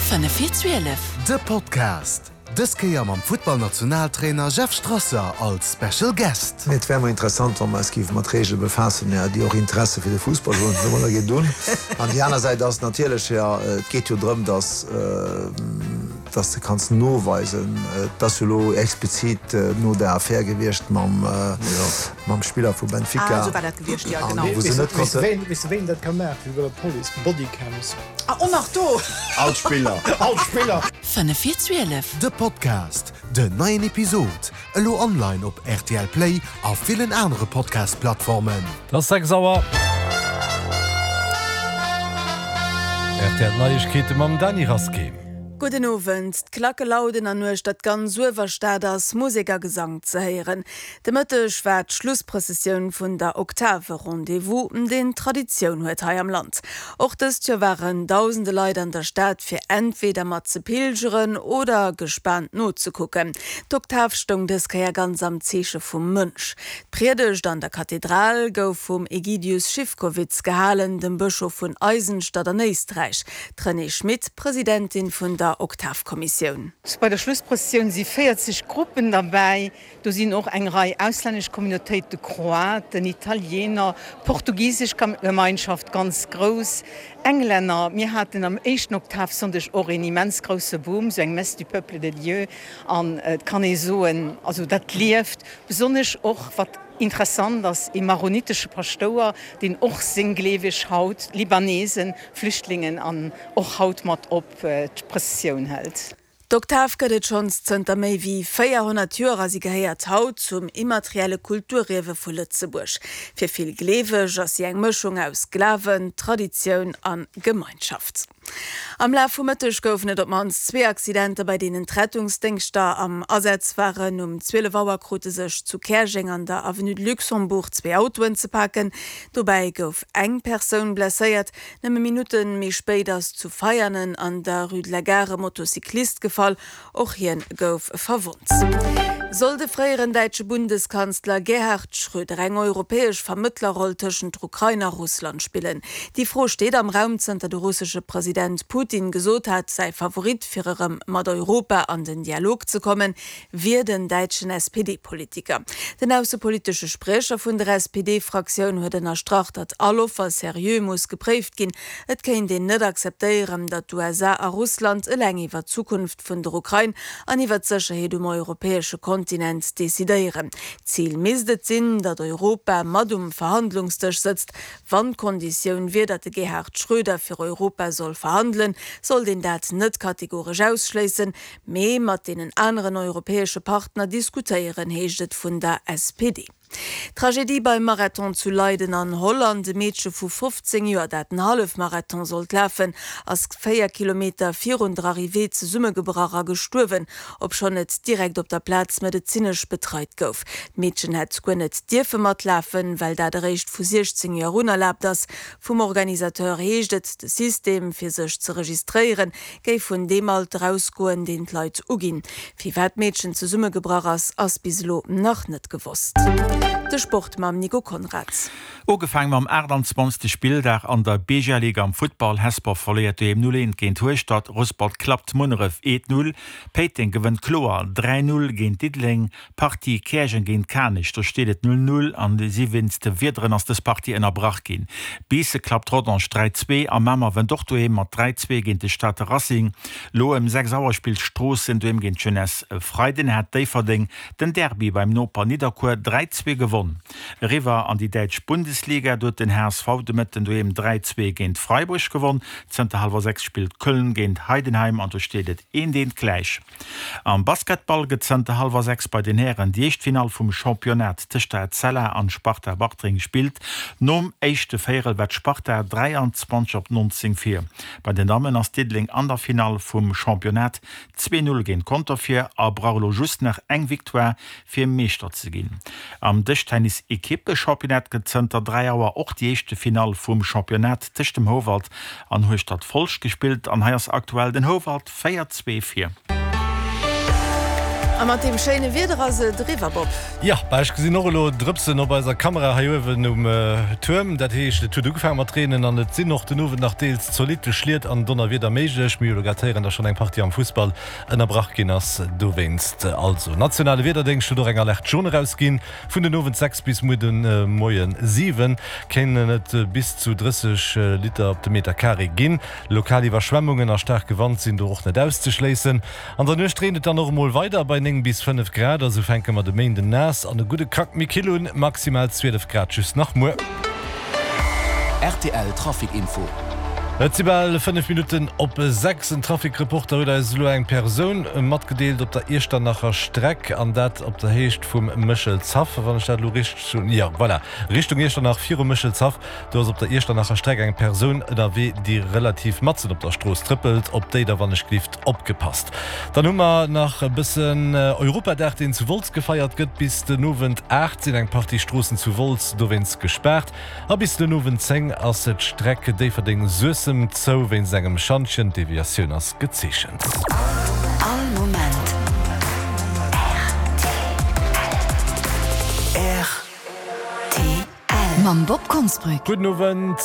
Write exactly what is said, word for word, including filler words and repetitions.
Fënnef vir zwielef. De Podcast, dës Kéier mam Futtballnationaltrainer Jeff Strasser als Special Guest. Mee et wär mol interessant, wa mer eis géife mat Reegele befaassen, jo, déi och Interesse fir de Fussball hunn. Domadder geet et un. An déi aner Säit ass natierlech, jo, et geet jo drëm, dass, dass de kanns noweisen, et ass jo elo explizit no der Affär gewiescht mam, mam Spiller vu Benfica. Ah, esou war dat gewiescht, jo, genau. An wou se net konnte. Weess de, wéi een dat ka maachen? Wéi bei der Police, Bodycams. Ah, och nach do! All d'Spiller. All d'Spiller. Fënnef vir zwielef. De Podcast, Den neien Episod elo online op R T L Play a villen anere Podcast-Plattformen. Et ass sechs Auer. R T L Neiegkeete mam Dany Rasqué. Gudden Owend. D'Klacke lauden an uechter d'ganz Uewerstad ass Musek a Gesang ze héieren. De Mëtteg war d'Schlussprëssessioun vun der Oktave Rendez-vous, deen Traditioun huet hei am Land. Och dëst Joer waren dausende Leit an der Stad fir entweder mat ze pilgeren oder gespaant nozekucken. D'Oktav stoung dës Kéier ganz am Zeeche vum Mënsch. D'Priedegt an der Kathedral gouf vum Egidius Schiffkowitz gehalen, dem Bëschof vun Eisenstadt an Éisträich. D'Renée Schmit, Presidentin vun der Oktavkommissioun. Bei der Schlussprëssessioun si véierzeg Gruppen derbäi. Do sinn och eng Rei auslännesch Communautéite, Kroaten, Italiener, portugisesch Gemeinschaft ganz grouss, Englänner. Mir haten am éischten Oktavsonndeg och een immens grousse Boom, sou eng Messe du peuple de Dieu. An et kann ee soen, also dat lieft. Besonnesch och wat interessant ass, ee maronitesche Paschtouer, deen och seng Gleeweg haut, Libanesen, Flüchtlingen an och haut mat op d'Prëssessioun hëlt. D'Oktav gëtt et schonns zënter méi wéi véierhonnert Joer a si gehéiert haut zum immaterielle Kulturierwe vu Lëtzebuerg. Fir vill Gleeweg ass si eng Mëschung aus Glawen, Traditioun a Gemeinschaft. Am Laf vum Mëtteg goufen et op d'mannst zwee Accidenter, bei deenen d'Rettungsdéngschter am Asaz waren. Um zwielef Auer krute sech zu Käerjeng an der Avenue de Luxembourg zwee Autoen ze paken. Dobäi gouf eng Persoun blesséiert. Nëmme Minutte méi spéit ass zu Veianen an der Rue de la Gare e Motocyclist gefall. Och hien gouf verwonnt. Soll de fréieren däitsche Bundeskanzler Gerhard Schröder eng europäesch Vermëttlerroll tëschent der Ukrain a Russland spillen? Déi Fro steet am Raum, zënter de russesche President Putin gesot hat, säi Favorit fir erëm mat Europa an den Dialog ze kommen, wier den däitschen S P D-Politiker. Den aussepolitesche Spriecher vun der S P D-Fraktioun huet ënnerstrach, datt all Offer seriö muss gepréift ginn. Et kéint een net akzeptéieren, datt d'U S A a Russland eleng iwwer d'Zukunft vun der Ukrain an iwwer d'Sécherheet um europäesche Kontinent decidéieren. Zil misst et sinn, datt Europa mat um Verhandlungsdësch sëtzt. Wann d'Konditioun wier, datt de Gerhard Schröder fir Europa soll verhandelen, sollt een dat net kategoresch ausschléissen, mee mat deenen aneren europäesche Partner diskutéieren, heescht et vun der S P D. Tragedie beim Marathon zu Leiden an Holland. E Meedche vu fofzéng Joer, dat den Hallefmarathon sollt lafen, ass véier Kilometer virun der Arrivée zesummegebrach a gestuerwen, obschonn et direkt op der Plaz medezinesch betreit gouf. D'Meedchen hätt guer net dierfe matlafen, well dat eréischt vu siechzéng Joer un erlaabt ass. Vum Organisateur heescht et, de System fir sech ze registréieren, géif vun deem Alter ausgoen, deen d'Leit uginn. Firwat d'Meedchen zesummegebrach ass, ass bis elo nach net gewosst. De Sport mam Nico Konrad. Ugefaangen mam aachtanzwanzegste. Spilldag an der B G L-Liga am Futtball. Hesper verléiert doheem null eent géint Hueschtert, Rouspert klappt Munneref eent null, Péiteng gewënnt kloer dräi null géint Diddeleng. Partie Käerjeng géint Kanech, do steet et null null an si wéinst de Wiederen ass dës Partie ënnerbrach ginn. Biissen klappt Rodange dräi zwee a Mamer wënnt och doheem mat dräi zwee géint de Stater Racing. Lo ëm sechs Auer spillt Stroossen doheem géint d'Jeunesse. E Freiden hat Déifferdeng den Derby beim Noper Nidderkuer dräi zwee gewonn. Eriwwer an déi däitsch Bundesliga, do huet den H S V de Mëtten doheem dräi zwee géint Freiburg gewonn. Zënter hallwer sechs spillt Köln géint Heidenheim an do steet et eent eent gläich. Am Basketball gëtt zënter hallwer sechs bei den Hären déi éischt Finall vum Championnat tëscht der Etzella an Sparta Bartreng gespillt. Nom éischte Véierel war d'Sparta dräianzwanzeg op nonzéng vir. Bei den Dammen ass Diddeleng an der Finall vum Championnat zwee null géint Conter vir a brauch elo just nach eng Victoire fir Meeschter ze ginn. Am Dëschtennis-Ekippe-Championnat gëtt zënter dräi Auer och déi éischte Finall vum Championnat tëscht dem Houwald an Hueschtert Folscht gespillt an hei ass aktuell den Houwald véier zwee vir. A mat deem schéine Wieder ass et eriwwer, Bob. Jo, bah ech gesinn och elo Drëpsen op eiser Kamera hei uewen um Tuerm. Dat heescht, et huet ugefaange mat reenen an et sinn och den Owend nach deels zolitte Schliet an Donnerwieder méiglech. Mir hu jo grad héieren, dass schonn eng Partie am Fussball ënnerbrach ginn ass dowéinst. Also, nationale Wiederdéngscht huet och eng Alerte jaune erausginn. Vun den Owend sechs bis muer de Moie siwen kéinen et bis zu drësseg Liter op de Meter Carré ginn. Lokal Iwwerschwemmungen a staarke Wand sinn do och net auszeschléissen. An der Nuecht reent et dann och emol weider bei néng bis fënnef Grad a sou fänke mer de Méinden naass an e gudde Krack méi kill un, maximal zwielef Grad just nach muer. Rtl Trafic Info. Et si bal fënnef Minutten op sechs. En Trafic-Reporter huet eis elo eng Persoun matgedeelt op der Iechternacher Streck, an dat op der Héicht vum Méchelshaff, wann ech dat elo richteg hunn. Jo, voilà, Richtung Iechternach, virum Méchelshaff. Do ass op der Iechternacher Streck eng Persoun ënnerwee, déi relativ matzen op der Strooss trëppelt. Op déi da wann ech glift opgepasst. Dann hu mer nach e bëssen Europadag, deen zu Wolz gefeiert gëtt. Bis den Owend aacht sinn eng Partie Stroossen zu Wolz dowéinst gespaart a bis den Owend zéng ass d'Streck Déifferdeng-Suessem zou wéinst engem Schantjen. D'Deviatioun ass gezeechent. All Moment rtl. Mam Bob Konsbrück. Gudden Owend.